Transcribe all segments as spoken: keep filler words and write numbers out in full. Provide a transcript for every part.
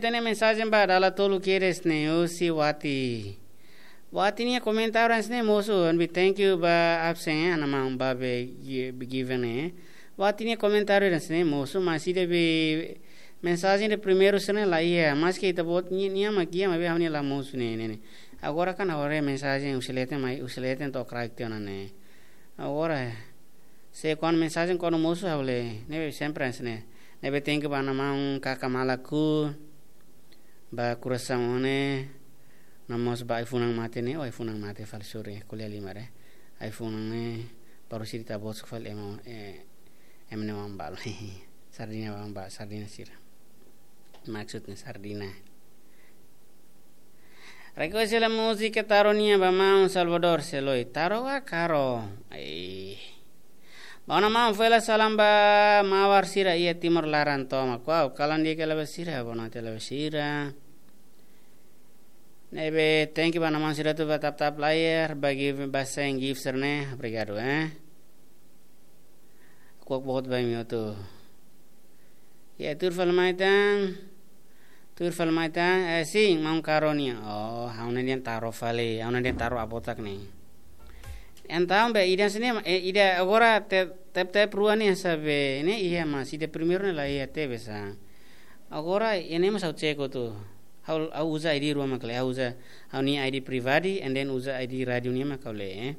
Hatene mensajen ba dala tolu kedas ne'e, husi Wati. Wati nia komentáriu hanesan ne'e mosu, and we thank you ba absen, eh, ana maun ba be gi-, be given, eh. Wati nia komentáriu hanesan ne'e mosu, mas ida be mensajen de primeiru sira-ne'e la iha, maski ita-boot ni-, nia mak iha, maibé ha'u-nia la mosu ne'e, ne'e, ne'e. Agora kan agora mensajen husi leten mai, husi leten to'o kraik tiha ona ne'e. Agora, se kuandu mensajen kuandu mosu ha'u lee, ne'ebé sempre hanesan ne'e. Ne'ebé thank you ba ana maun kaka malaku, ba kurasaun ne'e, no mós ba ai-funan mate ne'e, oh ai-funan mate fali sore, ko'alia liu mare. Ai-funan ne'e, baru sira ita-boot fali ema, eh, ema ne'e wan balu. Sardina wan ba, sardina sira. Maksudnya sardina. Request hela múzika Taro nian ba maun Salvador Seloi. Taro ka karo? Ai. Ba ona maun fó hela salam ba mawar sira iha Timor laran tomak. Wow, kalan di'ak hela ba sira, boa noite hela ba sira. Ne'ebé, thank you ba ona maun sira atu ba tap-tap layar, ba give, ba send gift sira-ne'e. Obrigadu, eh. Kuak boot ba imi hotu. Ya, tuir fali mai tan. Tuir fali mai tan. Eh, sin, maun karo nian. Oh, ha'u-nia dehan Taro fali. Ha'u-nia dehan Taro Abotak ne'e. Entaun be ida hanesan ne'e, eh, ida agora te-, tap-tap rua ne'e sabe, ne'e iha mas, ida primeiru ne'e la iha tebes. Agora, ne'e mas ha'u check hotu. Ha'u, ha'u uza I D rua mak lee, ha'u uza ha'u-nia I D pribadi, and then uza I D rádiu nian mak ha'u lee, eh.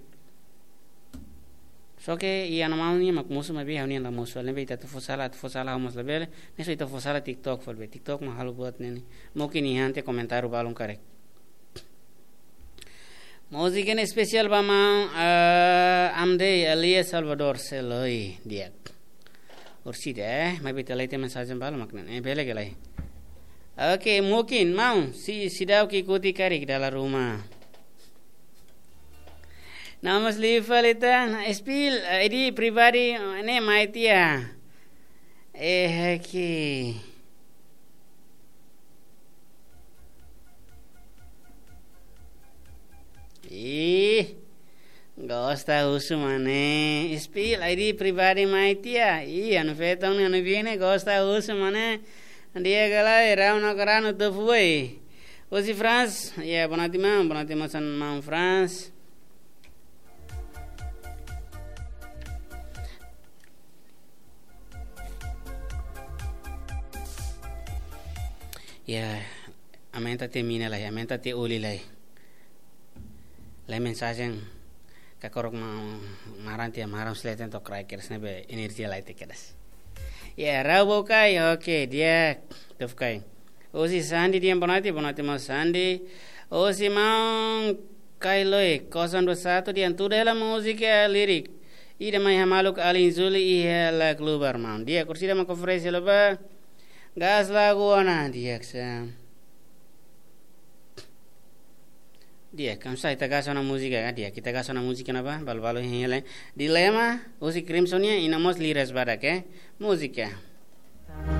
Só ke iha ana maun nian mak mosu maibé ha'u-nian la mosu. Ne'ebé ita atu fó sala, atu fó sala ha'u mós labele. Ne'e só ita fó sala TikTok, fali be TikTok mak halo buat ne'e ne'e. Mungkin iha ante komentáriu balun karik. Múzika ne'e espesiál ba maun, eh, Amdei alias Salvador Seloi di'ak. Orsida, eh, maibé ita la iha mensajen balu mak ne'e, eh, bele ka lae. Oke, mungkin maun, si-, seidauk ikuti karik dala ruma. Namun liu fali tan, spill, eh, I D pribadi, eh, ne'e mai tiha. Eh, oke. Ih, gosta husu mane. Spill I D pribadi mai tiha. Ih, anu feton, anu bine, gosta husu mane. Di'ak ka lae, rau no karanu tu fui. Husi France, ya, boa noite maun, boa noite maun Franz. Ya, aumenta tiha mina lai, aumenta tiha oli lai. Lai mensajen kakorok ma-, maran tiha maran seleten to'o kraik kedas ne'ebé enerjia lai tiha kedas. Ya, rau bau kai, oke, di'ak, tuf kai. Husi Sandi dehan boa noite, boa noite maun Sandi. Husi maun Kailoi, kosong dua satu dehan tuda hela múzika lirik. Ida mai hamaluk alin Zuli iha la klubar maun. Di'ak, orsida mak oferese hela ba. Gas lagu ona, di'ak sa. Di'ak, kam sa ita gas ona múzika ka, di'ak. Ita gas ona múzika ne'ebá, balu-balu hein hela. Dilema, husi Crimson nian, i no mós liras badak, eh. Múzika.